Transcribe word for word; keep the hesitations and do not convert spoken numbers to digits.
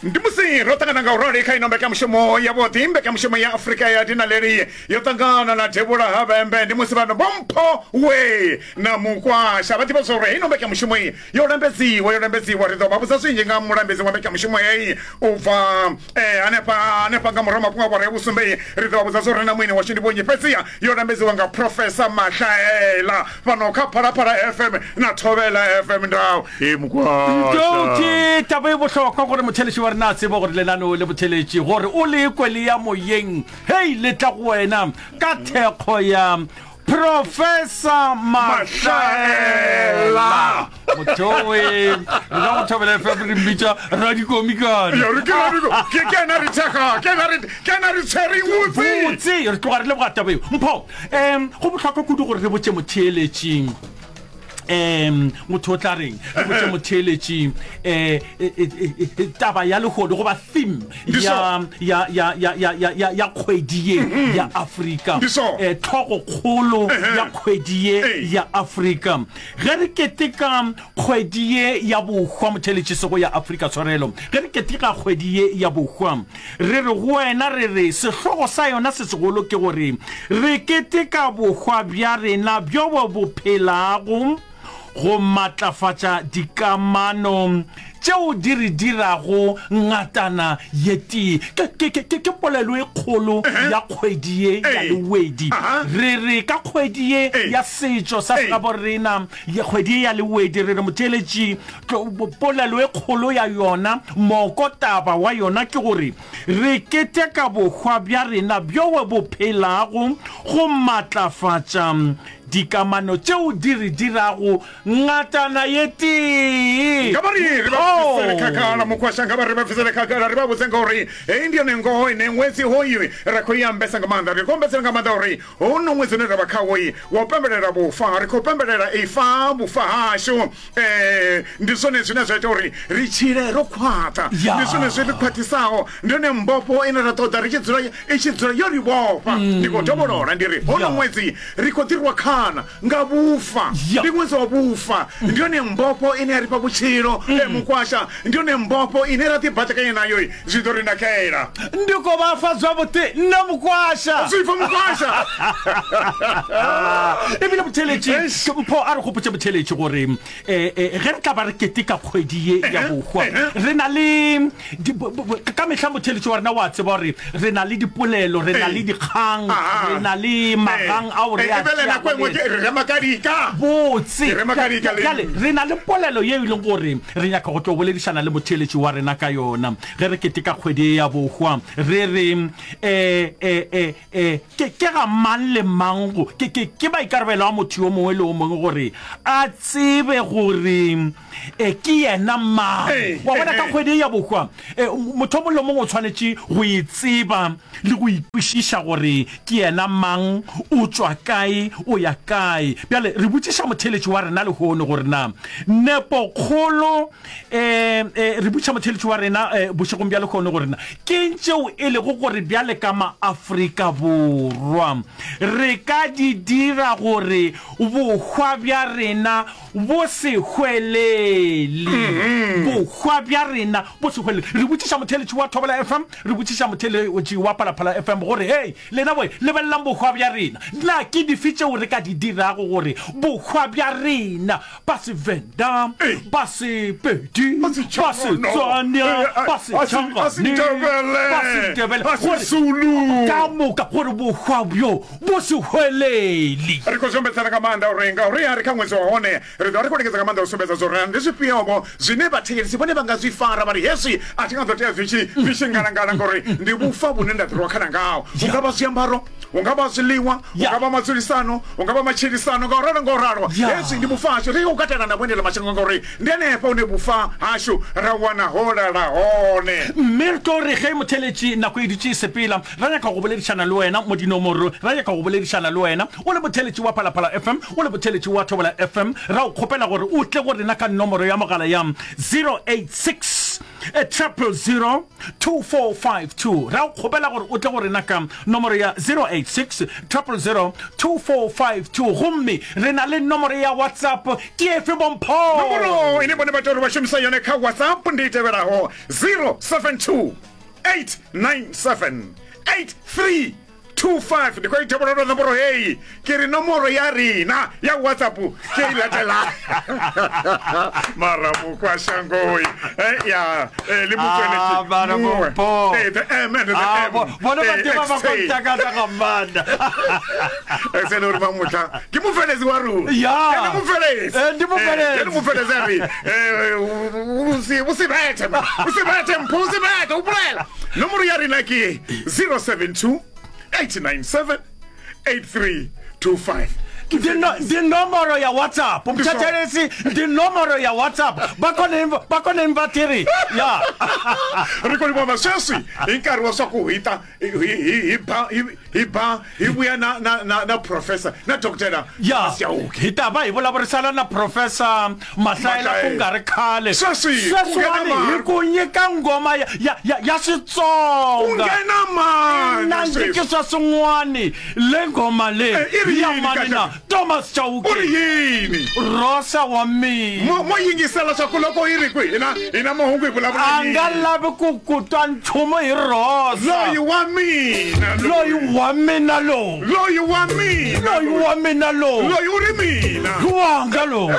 Ndi musi ro ṱangana nga urali kha ino mbekanyamushumo ya vhoṱhe, mbekanyamushumo ya Afrika ya Dinaleli yo ṱangana na Devhula ha Vhembe. Ndi musi vhano Bompho we na Mukwasha vha ḓivha zwa uri heino mbekanyamushumo iyi yo lambedziwa, yo lambedziwa. Ri ḓo vha vhudza zwinzhi nga mulambedzi wa mbekanyamushumo heyi u bva eh, hanefha hanefha nga murahu mafhungo a awara ya vhusumbe. Ri ḓo vha vhudza zwa uri na muini washu ndi vhonyi, fhedziha yo lambedziwa nga Professor Mahlaela fhano kha Phalaphala F M na Thobela F M. Ndau e Mukwasha. Ndau ke taba e bohlokwa gore motheletši wa rena a tsebe gore lenaneo le botheletši gore o le kwe le ya moyeng, hei le tla go wena ka thekgo ya Professor Mahlaela. Motho e re ka go Thobela F M re mmitša radikomikane. Ya, re ke radiko ke ke ena re thekga, ke ena re ke ena re tshwereng botse. Botse re tloga re leboga taba eo. Mpho, um go bohlokwa kudu gore re botše motheeletši, um motho o tla reng, re botše motheeletši um taba ya lehono goba theme ya ya ya ya ya ya ya ya kgwedi ye ya Afrika, eh tlhogokgolo ya kgwedi ye ya Afrika. Ge re keteka kgwedi ye ya bohwa, motheeletši sego ya Afrika, tshwarelo, ge re keteka kgwedi ye ya bohwa, re re go wena, re re sehlogo sa yona se segolo ke gore re keteka bohwa bja rena bjo bo bo phelago, go matlafatša dikamano tšeo di re dirago ngatana ye tee. Ke, ke, ke, ke polelo e kgolo ya kgwedi ye ya Lewedi. Re re ka kgwedi ye ya setšo sa segabo rena, ya kgwedi ye ya Lewedi, re re motheeletši, polelo e kgolo ya yona, moko taba wa yona ke gore re keteka bohwa bja rena bjo bo phelago, go matlafatša dikamano tšeo di re dirago ngatana ye tee. Nka ba re re ba bvisele khagala Mukwasha, nka ba re ba bvisele khagala, ri vha vhudze ngauri heyi ndi yone ngoho ine ṅwedzi hoyu ra khou i ambesa nga maanḓa. Ri khou ambesela nga maanḓa uri hono ṅwedzi une ra vha khawo wa u pembelela vhufa, ri khou pembelela ifa vhufa hashu. Eh, ndi zwone zwine zwa ita uri ri tshile ro khwaṱha, ndi zwone zwi ri khwaṱhisaho, ndi yone mbofho ine ra ṱoḓa ri tshi dzula i tshi dzula yo ri vhofha. Ndi khou dovholola ndi ri hono ṅwedzi ri khou ḓirwa khana nga vhufa, ndi ṅwedzi wa vhufa, ndi yone mbofho ine ya ri fha vhutshilo. E Mukwasha, ndi yone mbofho ine ra ḓibaḓekanya nayo, zwi ḓo ri nakela. Ndi khou vha fa zwavhuḓi nṋe Mukwasha. Zwi pfa Mukwasha. Ebile motheeletši, Mpho a re gopotše motheeletši gore eh, eh, ge re tla ba re keteka kgwedi ye ya bohwa, re na le ka mehla motheeletši wa rena wa tseba gore re na le dipolelo, re na le dikgang, re na le magang ao re a botse. Bjale re na le polelo ye e leng gore re nyaka go tlo boledišana le motheeletši wa rena ka yona ge re keteka kgwedi ye ya bohwa. Re re um um ke ke ga mang le mang go ke ke ke maikarabelo a motho yo mongwe le o mongwe gore a tsebe gore e ke yena mang. Wa bona, ka kgwedi ya bohwa motho o mongwe le mongwe o tshwanetše go e tseba le go ikwešiša gore ke yena mang, o tšwa kae, o ya kae. Bjale re botšiša motheeletši wa rena lehono gore na nepokgolo um re botšiša motheeletši wa rena bošegong bja lehono gore na keng tšeo e lego gore bjale ka Maafrika Borwa re ka di dira gore bohwa bja rena bo se hwelele, bohwa bja rena bo se hwelele. Re botšiša motheeletši wa Thobela F M, re botšiša motheeletši wa Phalaphala F M gore, hei lena boy, lebelelang bohwa bja rena, na ke dife tšeo re ka di dirago gore bohwa bja rena, ba Sevenda, ba Sepedi, ba Setswana, ba Setšhangane, ba Sendebele, gore ka moka gore bohwa bjo bo se hwelele. Ri khou zwi ombedzela nga maanḓa uri ngauri a ri kha ṅwedzi wa hone, ri ḓo vha ri khou lingedza nga maanḓa u sumbedza zwa uri ndi zwifhio-vho zwine vhathetshelesi vhone vha nga zwi fara vha ri hezwi a thi nga ḓo tea zwi tshi zwi tshi ngalangala ngauri ndi vhufa vhune nda ḓirwa khana ngaho. Hu nga vha zwiambaro, hu nga vha zwiḽiwa, hu nga vha madzulisano, hu nga vha matshilisano, nga u ralo nga u ralo. Hezwi ndi vhufa hashu, ri khou katela na vhuendela mashango ngauri ndi hanefha hune vhufa hashu ra wana ho lala hone. Mme re tlo re ge motheeletši nako e dutše e sepela, ra nyaka go boledišana le wena mo dinomorong, ra nyaka go boledišana le wena o le motheeletši wa Phalaphala F M, o le motheeletši wa Thobela F M, ra o kgopela gore o tle go rena ka nomoro ya mogala ya zero eight six triple zero two four five two. Ra o kgopela gore o tle go rena ka nomoro ya zero eight six triple zero two four five two. Gomme re na le nomoro ya WhatsApp ke efe bompho? Nomoro ine bone vha tea uri vha shumisa yone kha WhatsApp ndi i tevhelaho zero seven two eight nine seven eight three two five. Ndi khou i dovholola nomboro heyi, ke ri nomoro ya rina ya WhatsApp ke i latela mara mukwashangoi eh, ya eh, le Ah, mara mutsweletši bompho. Eh, the M and the Ah, M. bo- bona Eh, ba tseba ba X T. kontakata ga maanḓa. Eh, se le uri vha ke mufeledzi wa rona. Ya. Eh, ndi mufeledzi. Eh, ndi mufeledzi. Eh, ndi mufeledzi a ri, eh, u si- u si bethe, man. U si bethe, mpho, u si bethe, u bolela. Nomoro ya rena ke zero seven two eight nine seven eight three two five. Ndi no- ndi nomoro ya WhatsApp mthetshelesi, ndi nomoro ya WhatsApp va kone va kone va tiri ya. Ri khou livhuwa sweswi hi nkarhi wa swa ku hi ta hi hi hi ba hi hi ba hi vuya na na na na professor na doctor Ya, Chauke. hi ta va hi vulavurisana na professor Mahlaela ku nga ri khale. Sweswi, ku sweswiwani nghena hi ku nyika ngoma ya ya ya, ya Ku Xitsonga nghena mani nandziki sweswi? swa swin'wani le ngoma le Eh, i ri ya yini mani kahle? na Thomas Chauke. U ri yini? Rosa wa mina. Mo mo yingisela swa ku loko yi ri kwihi hina hina mahungu hi vulavula A nga yini? lavi ku ku twa nchumu hi Rosa. Loyi wa mina Loyi wa mina lowu. Loyi wa mina Loyi wa mina lowu. Loyi u ri mina. Wanga lowu.